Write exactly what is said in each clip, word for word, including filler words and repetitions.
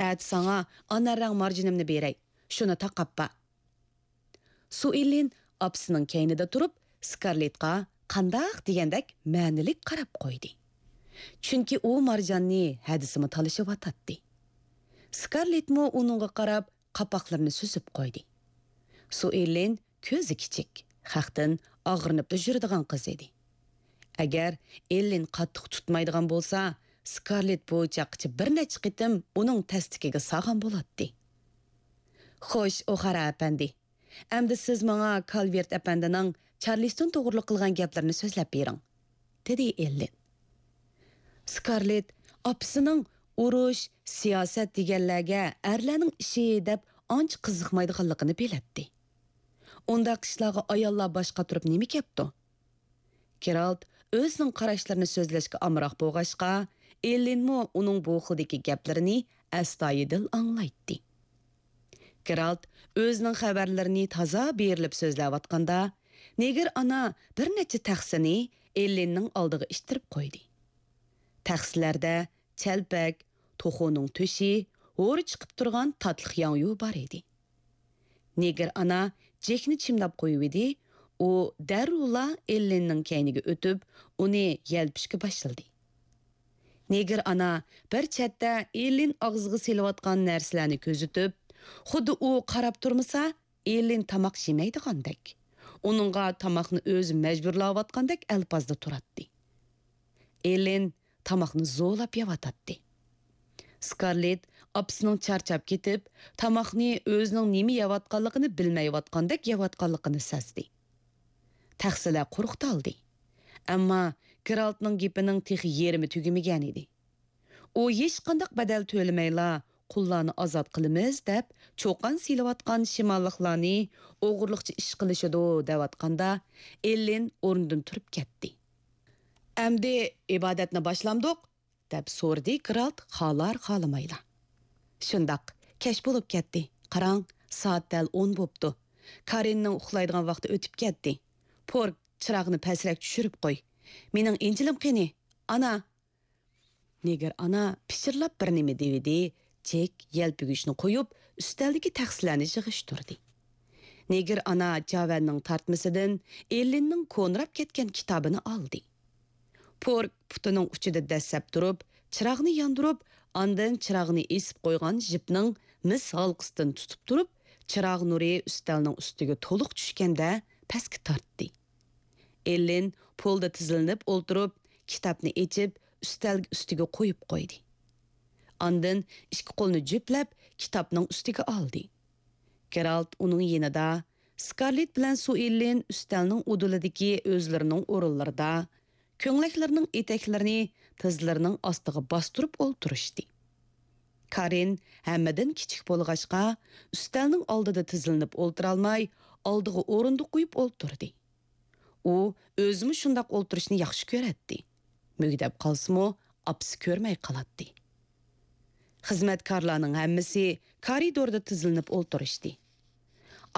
ئەتە ساڭا ئانار رەڭ مارجىنىمنى بېرەي. شۇنى تاقاپ بار. سۇئېللىن ئاپىسىنىڭ كەينىدە تۇرۇپ، سكارلېتقا قانداق دېگەندەك مەنىلىك قاراپ قويدى. چۈنكى ئۇ مارجاننى ھەدىسىمۇ تالىشىۋاتاتتى. سكارلېتمۇ ئۇنىڭغا قاراپ قاپاقلىرىنى سۈزۈپ قويدى. سۇئېللىن كۆزى كىچىك، خەقتىن ئاغرىنىپلا يۈرىدىغان قىز ئىدى. ئەگەر ئېللىن قاتتىق تۇتمايدىغان بولسا، سكارلېت بۇ چاغقىچە بىر نەچچە قېتىم ئۇنىڭ تەستىكىگە سالغان بولاتتى. «خوش، ئوخارا ئەپەندى، ئەمدى سىز ماڭا كالۋېرت ئەپەندىنىڭ چارلىستون توغرىلىق قىلغان گەپلىرىنى سۆزلەپ بېرىڭ»، دېدى ئېللىن. سكارلېت ئاپىسىنىڭ ئۇرۇش، سىياسەت دېگەنلەرگە ئەرلەرنىڭ ئىشى دەپ ئانچە قىزىقمايدىغانلىقىنى بىلەتتى. ئۇنداق ئىشلارغا ئاياللار باش قاتۇرۇپ نېمە كەپتۇ؟ گېرالت ئۆزىنىڭ قاراشلىرىنى سۆزلەشكە ئامراق بولغاچقا، ئېللىنمۇ ئۇنىڭ بۇ خىلدىكى گەپلىرىنى ئەستايىدىل ئاڭلايتتى. گېرالت ئۆزىنىڭ خەۋەرلىرىنى تازا بېرىلىپ سۆزلەۋاتقاندا، نېگىر ئانا بىر نەچچە تەخسىنى ئېللىننىڭ ئالدىغا ئىتتىرىپ قويدى. تەخسىلەردە چەلپەك، توخۇنىڭ تۆشى، ھورى چىقىپ تۇرغان تاتلىق ياڭيۇ بار ئىدى. نېگىر ئانا جېكنى چىمداپ قويۇۋىدى، ئۇ دەررۇلا ئېللىننىڭ كەينىگە ئۆتۈپ، ئۇنى يەلپۈشكە باشلىدى. نېگىر ئانا بىر چەتتە ئېللىن ئاغزىغا سېلىۋاتقان نەرسىلەرنى كۆزىتىپ، خۇددى ئۇ قاراپ تۇرمىسا، ئېللىن تاماق يېمەيدىغاندەك، ئۇنىڭغا تاماقنى ئۆزى مەجبۇرلاۋاتقاندەك ئەلپازدا تۇراتتى. ئېللىن تاماقنى زورلاپ يەۋاتاتتى. سكارلېت ئاپىسىنىڭ چارچاپ كېتىپ، تاماقنى ئۆزىنىڭ نېمە يەۋاتقانلىقىنى بىلمەيۋاتقاندەك يەۋاتقانلىقىنى سەزدى. تەخسىلەر قۇرۇقتالدى. ئەمما گېرالتنىڭ گېپىنىڭ تېخى يېرىمى تۈگىمىگەنىدى. ئۇ ھېچقانداق بەدەل تۆلىمەيلا، قۇللارنى ئازاد قىلىمىز دەپ، چۇقان سېلىۋاتقان شىماللىقلارنى ئوغرىلىقچە ئىش قىلىشىدۇ دەۋاتقاندا، ئېللىن ئورنىدىن تۇرۇپ كەتتى. ئەمدى ئىبادەتنى باشلامدۇق؟ دەپ سورىدى گېرالت خالار-خالىمايلا. شۇنداق، كەچ بولۇپ كەتتى. قاراڭ، سائەت دەل ئون بوپتۇ. كارىننىڭ ئۇخلايدىغان ۋاقتى ئۆتۈپ كەتتى. پورك، چىراغنى پەسرەك چۈشۈرۈپ قوي. مېنىڭ ئىنجىلىم قېنى؟ ئانا! نېگىر ئانا پىچىرلاپ بىر نېمە دېۋىدى، جېك يەلپۈگۈچنى قويۇپ، ئۈستەلدىكى تەخسىلەرنى يىغىشتۇردى. نېگىر ئانا جاۋەننىڭ تارتمىسىدىن ئېللىننىڭ كونىراپ كەتكەن كىتابىنى ئالدى. پورك پۇتىنىڭ ئۇچىدا دەسسەپ تۇرۇپ، چىراغنى ياندۇرۇپ، ئاندىن چىراغنى ئېسىپ قويغان ژىپنىڭ مىس ھالقىسىدىن تۇتۇپ تۇرۇپ، چىراغ نۇرى ئۈستەلنىڭ ئۈستىگە تولۇق چۈشكەندە پەسكە تارتتى. ئېللىن پولدا تىزلىنىپ ئولتۇرۇپ، كىتابنى ئېچىپ، ئۈستەل ئۈستىگە قويۇپ قويدى. ئاندىن ئىككى قولىنى جۈپلەپ، كىتابنىڭ ئۈستىگە ئالدى. گېرالت ئۇنىڭ يېنىدا، سكارلېت بىلەن سۇئېللىن ئۈستەلنىڭ ئۇدۇلىدىكى ئۆزلىرىنىڭ ئورۇنلىرىدا، كۆڭلەكلىرىنىڭ ئېتەكلىرىنى تىزلىرىنىڭ ئاستىغا باستۇرۇپ ئولتۇرۇشتى. كارىن ھەممىدىن كىچىك بولغاچقا، ئۈستەلنىڭ ئالدىدا تىزلىنىپ ئولتۇرالماي، ئالدىغا ئورۇندۇق قويۇپ ئولتۇردى. ئۇ ئۆزىمۇ شۇنداق ئولتۇرۇشنى ياخشى كۆرەتتى. مۈگدەپ قالسىمۇ، ئاپىسى كۆرمەي قالاتتى. خىزمەتكارلارنىڭ ھەممىسى كارىدوردا تىزلىنىپ ئولتۇرۇشتى.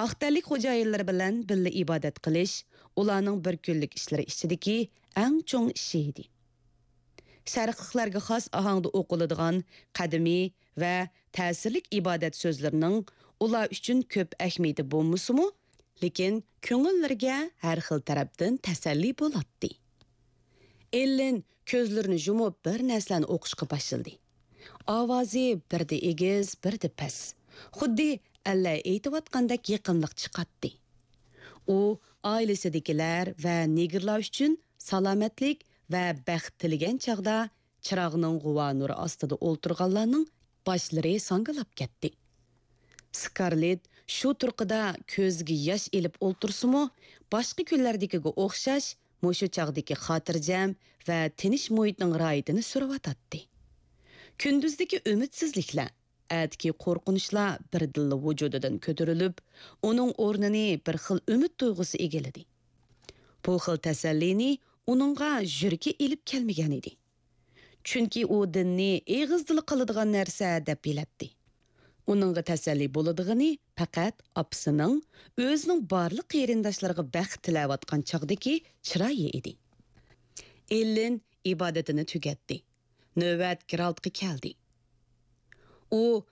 ئاق تەنلىك خوجايىنلىرى بىلەن بىللە ئىبادەت قىلىش ئۇلارنىڭ بىر كۈنلۈك ئىشلىرى ئىچىدىكى ئەڭ چوڭ ئىشى ئىدى. شەرقلىقلارغا خاس ئاھاڭدا ئوقۇلىدىغان قەدىمىي ۋە تەسىرلىك ئىبادەت سۆزلىرىنىڭ ئۇلار ئۈچۈن كۆپ ئەھمىيىتى بولمىسىمۇ، لېكىن كۆڭۈللىرىگە ھەر خىل تەرەپتىن تەسەللى بولاتتى. ئېللىن كۆزلىرىنى يۇمۇپ بىر نەرسىلەرنى ئوقۇشقا باشلىدى. ئاۋازى بىردە ئېگىز، بىردە پەس. خۇددى ئەللەر ئېيتىۋاتقاندەك يېقىملىق چىقاتتى. ئۇ ئائىلىسىدىكىلەر ۋە نېگىرلار ئۈچۈن سالامەتلىك ۋە بەخت تىلىگەن چاغدا چىراغنىڭ غۇۋا نۇرى ئاستىدا ئولتۇرغانلارنىڭ باشلىرى ساڭگىلاپ كەتتى. سكارلېت شۇ تۇرقىدا كۆزىگە ياش ئېلىپ ئولتۇرسىمۇ، باشقا كۈنلەردىكىگە ئوخشاش مۇشۇ چاغدىكى خاتىرجەم ۋە تىنچ مۇھىتنىڭ راھىتىنى سۈرۈۋاتاتتى. كۈندۈزدىكى ئۈمىدسىزلىكلەر، ئەتىكى قورقۇنچلار بىردىنلا ۋۇجۇدىدىن كۆتۈرۈلۈپ، ئۇنىڭ ئورنىنى بىر خىل ئۈمىد تۇيغۇسى ئىگىلىدى. بۇ خىل تەسەللىنى ئۇنىڭغا يۈرىكى ئېلىپ كەلمىگەن ئىدى. چۈنكى ئۇ دىننى ئېغىزدىلا قىلىدىغان نەرسە دەپ بىلەتتى. ئۇنىڭغا تەسەللى بولىدىغىنى پەقەت ئاپىسىنىڭ ئۆزىنىڭ بارلىق قېرىنداشلىرىغا بەخت تىلەۋاتقان چاغدىكى چىرايى ئىدى. ئېللىن ئىبادىتىنى تۈگەتتى. نۆۋەت گېرالتقا كەلدى. ئۇ